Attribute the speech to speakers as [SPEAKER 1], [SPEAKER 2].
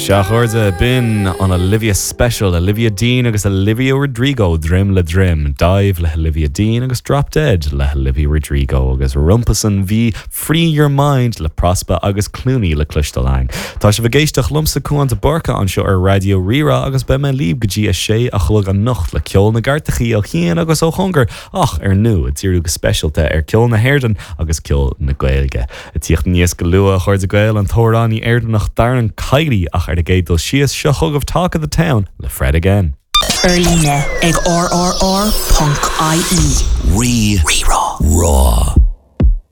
[SPEAKER 1] Sea, a chairde, b'in an Olivia Special, Olivia Dean agus Olivia Rodrigo droim le droim, Dive le hOlivia Dean agus Drop Dead le hOlivia Rodrigo agus rompusan bhí Free Your Mind le Prospa agus Clooney le cloisteáil againn. Tá sibh ag éisteacht liomsa Cuán de Búrca anseo ar Raidió Rí-Rá agus beidh mé libh go dtí a sé a chlog anocht le ceol na gcairteachaí ó chian agus ó chóngar ach ar ndóigh ag díriú go speisialta ar ceol na hÉireann agus ceol na Gaeilge. Ag tíocht aníos go luath, a chairde Gael, an t-amhránaí Éireannach Darren Kiely ach ar an gcéad dul síos, seo chugaibh Talk of the Town le Fred Again.
[SPEAKER 2] Ar líne ag rrr.ie.
[SPEAKER 3] Rí Rá.